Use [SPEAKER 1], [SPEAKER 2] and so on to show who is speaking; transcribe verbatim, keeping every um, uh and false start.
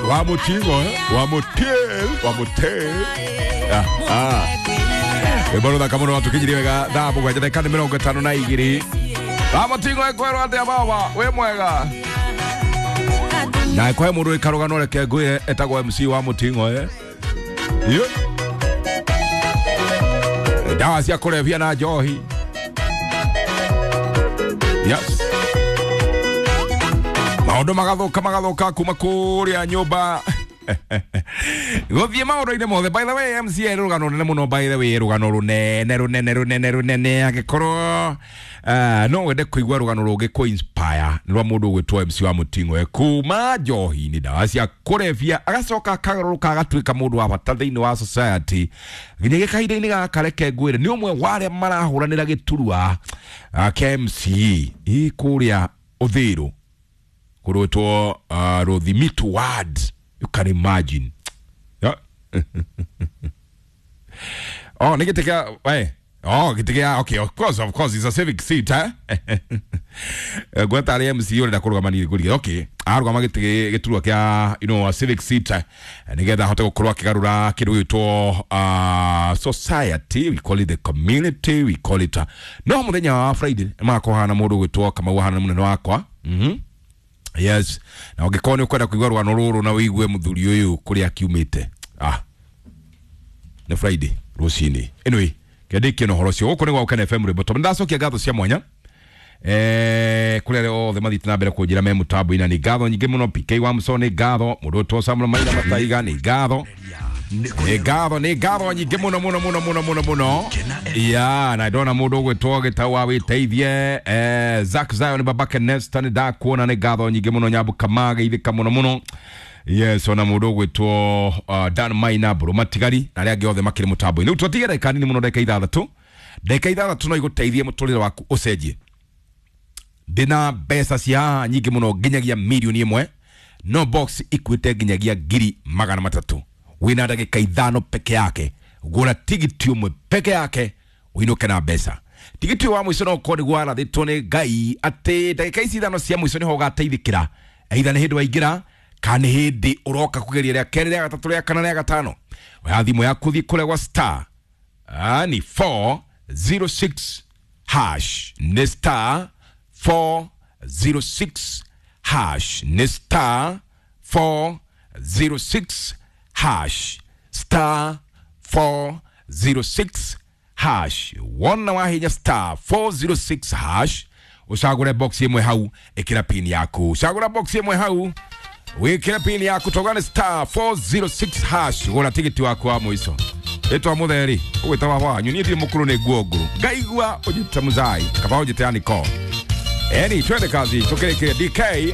[SPEAKER 1] Wa Mutingo eh? Wa Mutil, wa Mutil. Ah, ah. Rwĩmbo rũthaka mũno rwatũkinyirie wega thaa mũgwanja ndagĩka nĩ mĩrongo ĩtano na igĩrĩ. Wa Mutingo ĩkwĩrwo atĩa baba wĩ mwega na ĩkwahe mũndũ ĩkarũgano reke ngwĩre etagwo M C wa Mutingo eh? Yo. Dawa cia kũrebia na njohi. Yes. Maũndũ magathuka magathuka kuma kũrĩa nyũmba. Gũthiĩ maũndũ-inĩ mothe. By the way, M C A rũgano rũnene mũno, by the way, rũgano rũnene rũnene rũnene rũnene angĩkorwo uh, no wende kũigua rũgano rũngĩ kũ inspire nĩ rwa mũndũ ũgwĩtwo M C wa Mutingo eh, kuma njohi-inĩ ndawa cia kũrebia agacoka akagarũrũka agatuĩka mũndũ wa bata thĩinĩ wa society nginyagia kahinda-inĩ gaka reke ngwĩre nĩ ũmwe wa arĩa marahũranĩra gĩturwa uh, kĩa M C A kũrĩa Ũthĩrũ kũrwĩtwo uh, Rũthimitu ward. You can imagine. Yeah. Oh, nigga, take out. Hey. Oh, get out. Okay, of course, of course, it's a civic seat, huh? Gweta M C urenda kurugama ni nguri. Okay, arugama gite giturwa kia, you know, a civic seat. Nigetha hote gukorwo akigarura kindu gitwo uh society, we call it the community, we call it. Uh, no muthenya wa Friday makohana mundu gwitwo Kamau hana munene wakwa. Mhm. Yes. Na ũngĩkorwo nĩ ũkwenda kũigua rũgano rũrũ na ũigue mũthuri ũyũ kũrĩa akiumĩte. Ah. Nĩ Friday rũcinĩ. Anyway, kĩandĩkie na ũhoro ũcio. Gũkũ nĩ gwa Ũkene F M rwĩmbo. Tondũ ndacokia ngatho cia mwanya. Eh, kũrĩ arĩa othe mathiĩte na mbere kũnjĩra me mũtambo-inĩ nĩ ngatho nyingĩ mũno. P K wa Muso nĩ ngatho, mũndũ ũtwo Samuel Maina Mataiga nĩ ngatho. Nĩ ngatho, nĩ ngatho nyingĩ mũno mũno mũno mũno mũno mũno. Yeah, na ndona mũndũ ũgwĩtwo Gĩtau wa Wĩteithie, eh, Zack Zion Babake Nesta nĩ ndakuona nĩ ngatho nyingĩ mũno. Nyambu Kamage ithĩka mũno mũno. Yes, ona mũndũ ũgwĩtwo uh, Dan Maina Mbũrũ Matigari na arĩa angĩ othe makĩrĩ mũtambo-inĩ. Rĩu twatige ndagĩka nini mũno, ndagĩka ithathatũ. Ndagĩka ithathatũ no igũteithie mũtũrĩre waku ũcenjie. Ndĩna mbeca cia haha nyingĩ mũno nginyagia mirioni ĩmwe, no box ikuĩte nginyagia ngiri magana matatũ. Wĩna ndagĩka ithano peke yake, gũra tigiti ũmwe peke yake ũinũke na mbeca. Tigiti wa mũico no ũkorwo nĩguo warathĩtwo nĩ Ngai atĩ ndagĩka ici ithano cia mũico nĩho ũgateithĩkĩra, either nĩ hĩndĩ waingĩra kana nĩ hĩndĩ ũroka kũgeria rĩa kerĩ, rĩa gatatũ, rĩa kana, rĩa gatano. Oya thimũ yaku thiĩ kũrĩa gwa star ah, ni four zero six hash, nĩ star four zero six hash, nĩ star four zero six hash, star four zero six hash. Wona wahinya star four zero six hash ucagure box imwe hau ikira pin yaku, ucagura box imwe hau wikira pin yaku togane star four zero six hash gura tigiti waku wa muico. Etwa mutheri ugwita baba wanyu ni thiri mukuru ni nguo nguru ngaigua ujite muzai kaba ujite aniko. Eni twende kazi tukirikire D K.